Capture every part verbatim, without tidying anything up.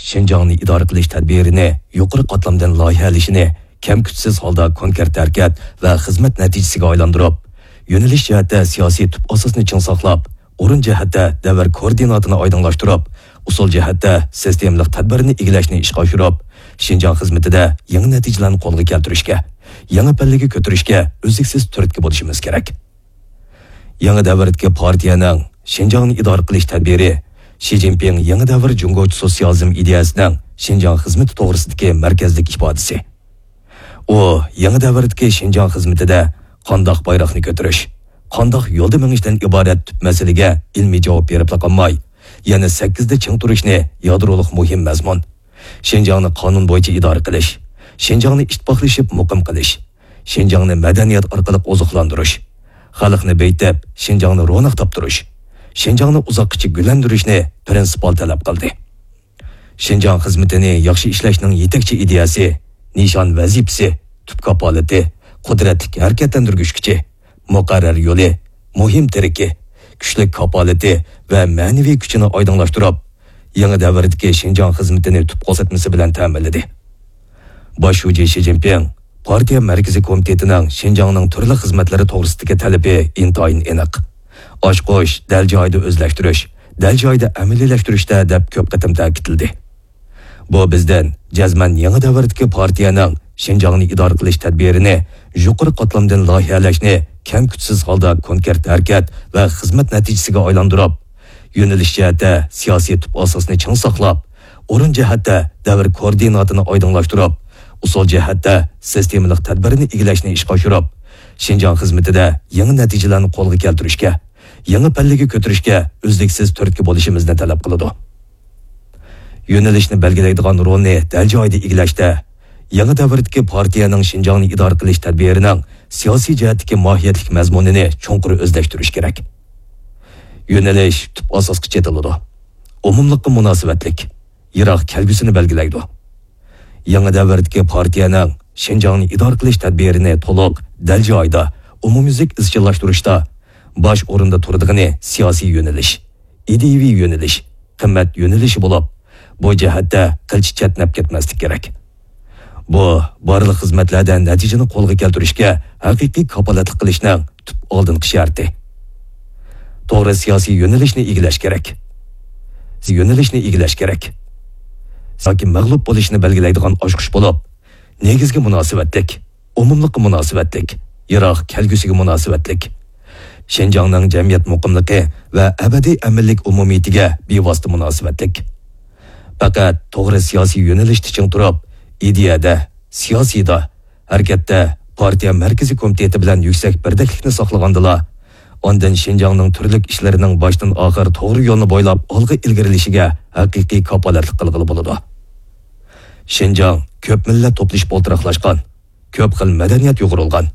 شىنجاڭنى ئىدارە قىلىش تەدبىرىنى يۇقىرى قاتلامدىن لايىھەلىشىنى كەم-كۈتسىز ھالدا كونكرېت ھەرىكەت ۋە خىزمەت نەتىجىسىگە ئايلاندۇرۇپ، يۆنىلىش جەھەتتە سىياسىي تۈپ ئاساسنى چىڭ ساقلاپ، ئورۇن جەھەتتە دەۋر كوئوردىناتىنى ئايدىڭلاشتۇرۇپ، ئۇسۇل جەھەتتە سىستېمىلىق تەدبىرنى ئىگىلەشنى ئىشقا ئاشۇرۇپ، شىنجاڭ خىزمىتىدە يېڭى نەتىجىلەرنى قولغا كەلتۈرۈشكە، يېڭى پەللىگە كۆتۈرۈشكە ئۈزلۈكسىز تۈرتكە بولۇشىمىز كېرەك. يېڭى دەۋردىكى پارتىيەنىڭ شىنجاڭنى ئىدارە قىلىش تەدبىرى شى جىنپىڭ يېڭى دەۋر جۇڭگوچە سوتسىيالىزم ئىدىيەسىنىڭ شىنجاڭ خىزمىتى توغرىسىدىكى مەركەزلىك ئىپادىسى. ئۇ يېڭى دەۋردىكى شىنجاڭ خىزمىتىدە قانداق بايراقنى كۆتۈرۈش، قانداق يولدا مېڭىشتىن ئىبارەت تۈپ مەسىلىگە ئىلمىي جاۋاب بېرىپلا قالماي، يەنە سەككىزدە چىڭ تۇرۇشنى يادرولۇق مۇھىم مەزمۇن، شىنجاڭنى قانۇن بويىچە ئىدارە قىلىش، شىنجاڭنى ئىتتىپاقلىشىپ مۇقىم قىلىش، شىنجاڭنى مەدەنىيەت ئارقىلىق ئوزۇقلاندۇرۇش، خەلقنى بېيىتىپ، شىنجاڭنى روناق تاپتۇرۇش، شىنجاڭنى ئۇزاققىچە گۈللەندۈرۈشنى پىرىنسىپال تەلەپ قىلدى. شىنجاڭ خىزمىتىنى ياخشى ئىشلەشنىڭ يېتەكچى ئىدىيەسى، نىشان ۋەزىپىسى، تۈپ كاپالىتى، قۇدرەتلىك ھەرىكەتلەندۈرگۈچ كۈچى، مۇقەررەر يولى، مۇھىم تىرىكى، كۈچلۈك كاپالىتى ۋە مەنىۋى كۈچىنى ئايدىڭلاشتۇرۇپ، يېڭى دەۋردىكى شىنجاڭ خىزمىتىنى تۈپ كۆرسەتمىسى بىلەن تەمىنلىدى. باش شۇجى شى جىنپىڭ پارتىيە مەركىزىي كومىتېتىنىڭ شىنجاڭنىڭ تۈرلۈك خىزمەتلىرى توغرىسىدىكى تەلىپى ئىنتايىن ئېنىق. ئاچقۇچ دەل جايىدا ئۆزلەشتۈرۈش، دەل جايىدا ئەمەلىيلەشتۈرۈشتە دەپ كۆپ قېتىم تەكىتلىدى. بۇ بىزدىن جەزمەن يېڭى دەۋردىكى پارتىيەنىڭ شىنجاڭنى ئىدارە قىلىش تەدبىرىنى يۇقىرى قاتلامدىن لايىھەلەشنى كەم-كۈتسىز ھالدا كونكرېت ھەرىكەت ۋە خىزمەت نەتىجىسىگە ئايلاندۇرۇپ، يۆنىلىش جەھەتتە سىياسىي تۈپ ئاساسنى چىڭ ساقلاپ، ئورۇن جەھەتتە دەۋر كوئوردىناتىنى ئايدىڭلاشتۇرۇپ، ئۇسۇل جەھەتتە سىستېمىلىق تەدبىرنى ئىگىلەشنى ئىشقا ئاشۇرۇپ، شىنجاڭ خىزمىتىدە يېڭى نەتىجىلەرنى قولغا كەلتۈرۈشكە، يېڭى پەللىگە كۆتۈرۈشكە ئۈزلۈكسىز تۈرتكە بولۇشىمىزنى تەلەپ قىلىدۇ. يۆنىلىشنى بەلگىلەيدىغان رولنى دەل جايىدا ئىگىلەشتە، يېڭى دەۋردىكى پارتىيەنىڭ شىنجاڭنى ئىدارە قىلىش تەدبىرىنىڭ سىياسىي جەھەتتىكى ماھىيەتلىك مەزمۇنىنى چوڭقۇر ئۆزلەشتۈرۈش كېرەك. يۆنىلىش تۈپ ئاساسقا چېتىلىدۇ. ئومۇملۇققا مۇناسىۋەتلىك، يىراق كەلگۈسىنى بەلگىلەيدۇ. يېڭى دەۋردىكى پارتىيەنىڭ شىنجاڭنى ئىدارە قىلىش تەدبىرىنى تولۇق، دەل جايىدا، ئومۇميۈزلۈك ئىزچىللاشتۇرۇشتا باش ئورۇندا تۇرىدىغىنى سىياسىي يۆنىلىش، ئىدىيىۋى يۆنىلىش، قىممەت يۆنىلىشى بولۇپ، بۇ جەھەتتە قىلچە چەتنەپ كەتمەسلىك كېرەك. بۇ بارلىق خىزمەتلەردە نەتىجىنى قولغا كەلتۈرۈشكە ھەقىقىي كاپالەتلىك قىلىشنىڭ تۈپ ئالدىنقى شەرتى. توغرا سىياسىي يۆنىلىشنى ئىگىلەش كېرەك. يۆنىلىشنى ئىگىلەش كېرەك. ياكى مەغلۇپ بولۇشنى بەلگىلەيدىغان ئاچقۇچ بولۇپ، نېگىزگە مۇناسىۋەتلىك، ئومۇملۇققا مۇناسىۋەتلىك، يىراق كەلگۈسىگە مۇناسىۋەتلىك، شىنجاڭنىڭ جەمئىيەت مۇقىملىقى ۋە ئەبەدىي ئەمىنلىك ئومۇمىيىتىگە بىۋاسىتە مۇناسىۋەتلىك. پەقەت توغرا سىياسىي يۆنىلىشتە چىڭ تۇرۇپ، ئىدىيەدە، سىياسىيدا، ھەرىكەتتە پارتىيە مەركىزىي كومىتېتى بىلەن يۈكسەك بىردەكلىكنى ساقلىغاندىلا، ئاندىن شىنجاڭنىڭ تۈرلۈك ئىشلىرىنىڭ باشتىن ئاخىر توغرا يولنى بويلاپ ئالغا ئىلگىرىلىشىگە ھەقىقىي كاپالەتلىك قىلغىلى بولىدۇ. شىنجاڭ كۆپ مىللەت توپلىشىپ ئولتۇراقلاشقان، كۆپ خىل مەدەنىيەت يۇغۇرۇلغان،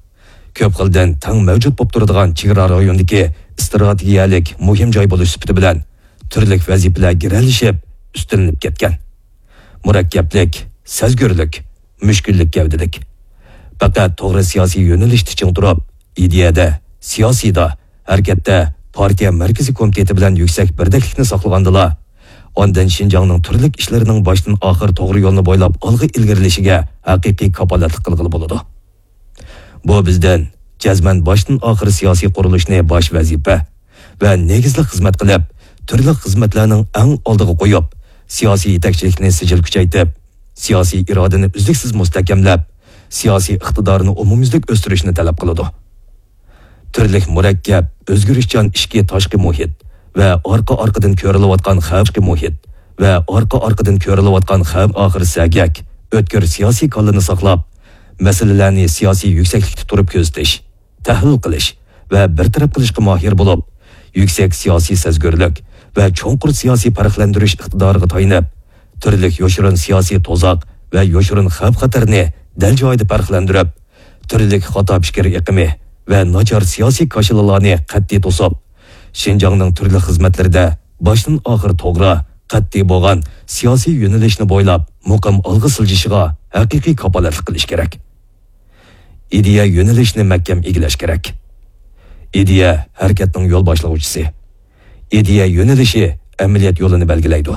كۆپ خىل دىن تەڭ مەۋجۇت بولۇپ تۇرىدىغان چېگرا رايونىدىكى ئىستراتېگىيەلىك مۇھىم جاي بولۇش سۈپىتى بىلەن تۈرلۈك ۋەزىپىلەر گىرەلىشىپ ئۈستۈنلىنىپ كەتكەن. مۇرەككەپلىك، سەزگۈرلۈك، مۈشكۈللۈك گەۋدىلىك. پەقەت توغرا سىياسىي يۆنىلىشتە چىڭ تۇرۇپ، ئىدىيەدە، سىياسىيدا، ھەرىكەتتە پارتىيە مەركىزىي كومىتېتى بىلەن يۈكسەك بىردەكلىكنى ساقلىغاندىلا، ئاندىن شىنجاڭنىڭ تۈرلۈك ئىشلىرىنىڭ باشتىن ئاخىر توغرا يولنى بويلاپ ئالغا ئىلگىرىلىشىگە ھەقىقىي كاپالەتلىك قىلغىلى بولىدۇ. بۇ بىزدىن جەزمەن باشتىن ئاخىر سىياسىي قۇرۇلۇشنى باش ۋەزىپە ۋە نېگىزلىك خىزمەت قىلىپ، تۈرلۈك خىزمەتلەرنىڭ ئەڭ ئالدىغا قويۇپ، سىياسىي يېتەكچىلىكنى سىجىل كۈچەيتىپ، سىياسىي ئىرادىنى ئۈزلۈكسىز مۇستەھكەملەپ، سىياسىي ئىقتىدارنى ئومۇميۈزلۈك ئۆستۈرۈشنى تەلەپ قىلىدۇ. تۈرلۈك مۇرەككەپ، ئۆزگىرىشچان ئىچكى تاشقى مۇھىت ۋە ئارقا-ئارقىدىن كۆرۈلۈۋاتقان خەۋپ، مۇھىت ۋە ئارقا-ئارقىدىن كۆرۈلۈۋاتقان خەۋپ ئاخىر سەگەك، ئۆتكۈر سىياسىي كاللىنى ساقلاپ، مەسىلىلەرنى سىياسىي يۈكسەكلىكتە تۇرۇپ كۆزىتىش، تەھلىل قىلىش ۋە بىر تەرەپ قىلىشقا ماھىر بولۇپ، يۈكسەك سىياسىي سەزگۈرلۈك ۋە چوڭقۇر سىياسىي پەرقلەندۈرۈش ئىقتىدارىغا تايىنىپ، تۈرلۈك يوشۇرۇن سىياسىي تۇزاق ۋە يوشۇرۇن خەۋپ-خەتەرنى دەل جايىدا پەرقلەندۈرۈپ، تۈرلۈك خاتا پىكىر ئېقىمى ۋە ناچار سىياسىي كاشىلىلارنى قەتئىي توسۇپ، شىنجاڭنىڭ تۈرلۈك خىزمەتلىرىدە باشتىن ئاخىر توغرا، قەتئىي بولغان سىياسىي يۆنىلىشنى بويلاپ مۇقىم ئالغا سىلجىشىغا ھەقىقىي كاپالەتلىك قىلىش كېرەك. ئىدىيە يۆنىلىشىنى مەھكەم ئىگىلەش كېرەك. ئىدىيە ھەرىكەتنىڭ يول باشلىغۇچىسى. ئىدىيە يۆنىلىشى ئەمەلىيەت يولىنى بەلگىلەيدۇ.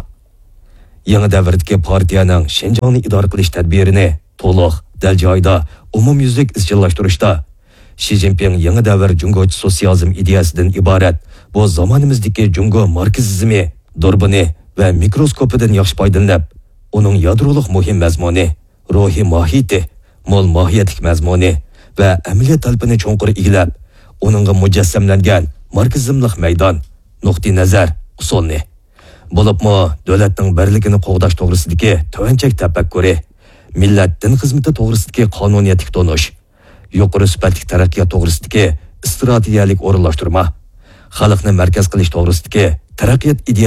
يېڭى دەۋردىكى پارتىيەنىڭ شىنجاڭنى ئىدارە قىلىش تەدبىرىنى تولۇق، دەل جايىدا، ئومۇميۈزلۈك ئىزچىللاشتۇرۇشتا، شى جىنپىڭ يېڭى دەۋر جۇڭگوچە سوتسىيالىزم ئىدىيەسىدىن ئىبارەت بۇ زامانىمىزدىكى جۇڭگو ماركسىزمى دۇربۇنى ۋە مىكروسكوپىدىن ياخشى پايدىلىنىپ، ئۇنىڭ يادرولۇق مۇھىم مەزمۇنى، روھىي ماھىيىتى، مول ماھىيەتلىك مەزمۇنى ۋە ئەمەلىيەت تەلىپىنى چوڭقۇر ئىگىلەپ، ئۇنىڭغا مۇجەسسەملەنگەن ماركسىزملىق مەيدان، نۇقتىئىنەزەر، ئۇسۇلنى، بولۇپمۇ دۆلەتنىڭ بىرلىكىنى قوغداش توغرىسىدىكى تۆۋەن چەك تەپەككۇرى، مىللەت دىن خىزمىتى توغرىسىدىكى قانۇنىيەتلىك تونۇش، يۇقىرى سۈپەتلىك تەرەققىيات توغرىسىدىكى ئىستراتېگىيەلىك ئورۇنلاشتۇرما، خەلقنى مەركەز قىلىش توغرىسىدىكى تەرەققىيات ئىدىيە